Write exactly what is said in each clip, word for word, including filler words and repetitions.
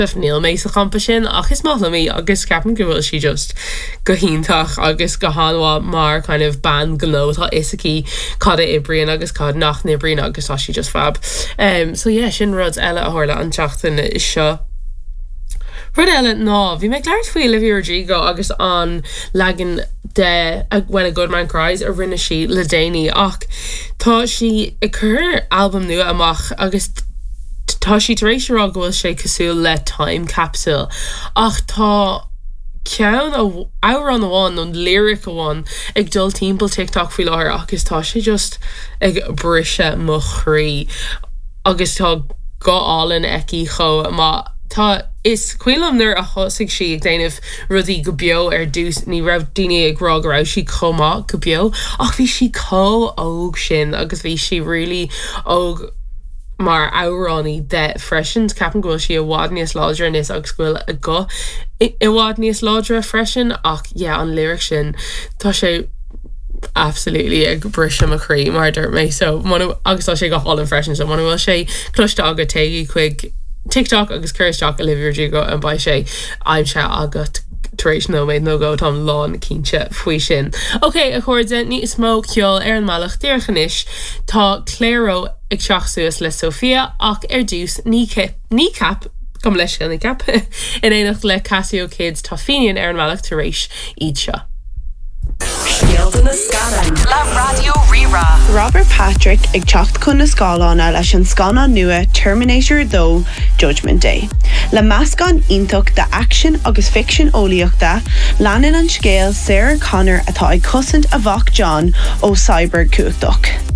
Níl mé sa champa sin ach is maith liom í agus ceapaim go bhfuil sí just go hiontach agus go han-mhaith mar kind of bean gnó tá a fhios aici cad a oibríonn agus cad nach n-oibríonn agus tá sí just fab. Um, so yeah, sin rud eile a tharla an tseachtain seo. Rud eile ná bhí mé ag labhairt faoi Olivia Rodrigo agus an leagan de When a Good Man Cries a rinne sí le déanaí ach tá sí ag cur albam nua amach agus tá sí tar éis rá go bhfuil sé cosúil le time capsule ach tá ceann amhrán amháin nó lyric amháin ag dul timpeall TikTok faoi láthair agus tá sé just ag briseadh mo chroí agus tá guth álainn aici chomh maith tá is cuimhin liom nuair a thosaigh sí ag déanamh rudaí go beo ar dtús ní raibh daoine ag rá go raibh sí chomh maith go beo ach bhí sí chomh óg sin agus bhí sí really óg mar amhránaí de freisin ceapaim go bhfuil sí i bhfad níos láidre anois agus go bhfuil a guth i bhfad níos láidre freisin ach yeah an lyric sin tá sé absolutely ag briseadh mo chroí mar dúirt mé so agus tá sé go hálainn freisin so muna bhfuil sé cloiste agat téigh chuig TikTok agus cuir isteach Olivia Rodrigo an beidh sé aimsithe agat tar éis nóiméad nó dhó táim lán cinnte faoi sin. Ok a chairde níos mó ceol ar an mbealach díreach anois tá Clairo ag teacht suas le Sophia ach ar dtús ní Kneecap gom leis ní cap in éineacht le Casio Kids tá Finian ar an mbealach tar éis iad seo. Scéalta na scannán le Raidió Rí-Rá. Robert Patrick ag teacht chun na scáileáin leis an scannán nua Terminator dó Judgment Day. Le meascán iontach de action agus ficsean eolaíochta, leanann an scéal Sarah Connor atá ag cosaint a mhac John ó cyborg cumhachtach.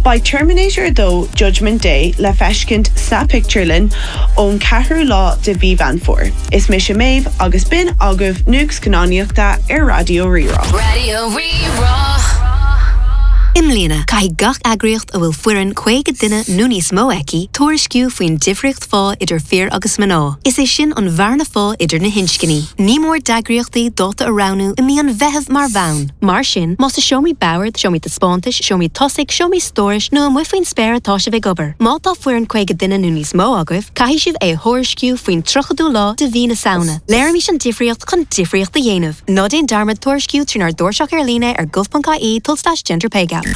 Beidh Terminator dó Judgment Day le feiscint sa pictiúrlann ón ceathrú lá de mhí Mheán Fómhair. Is mise Méabh agus b'in agaibh nuacht scannánaíochta ar Raidió Rí-Rá. Raidió Rí-Rá. I mbliana caithfidh gach eagraíocht a bhfuil foireann caoga duine nó níos mó aici tuairisciú faoin difríocht phá idir fir agus mná. Is é sin an bhearna phá idir na hinscní. Ní mór d'eagraíochtaí dáta a roghnú i mí an Mheithimh mar bhonn. Mar sin, más i seomraí boird, seomraí taispeántais, seomraí tosaigh, seomraí stórais nó amuigh faoin spéir atá sibh ag obair. Má tá foireann caoga duine nó níos mó agaibh, caithfidh sibh é thuairisciú faoin tríochadú lá de mhí na Samhna. Léirímis an difríocht chun difríocht a dhéanamh. Ná déan dearmad tuairisciú trínár dtairseach ar líne ar gov.ie tulslais gender pay gap.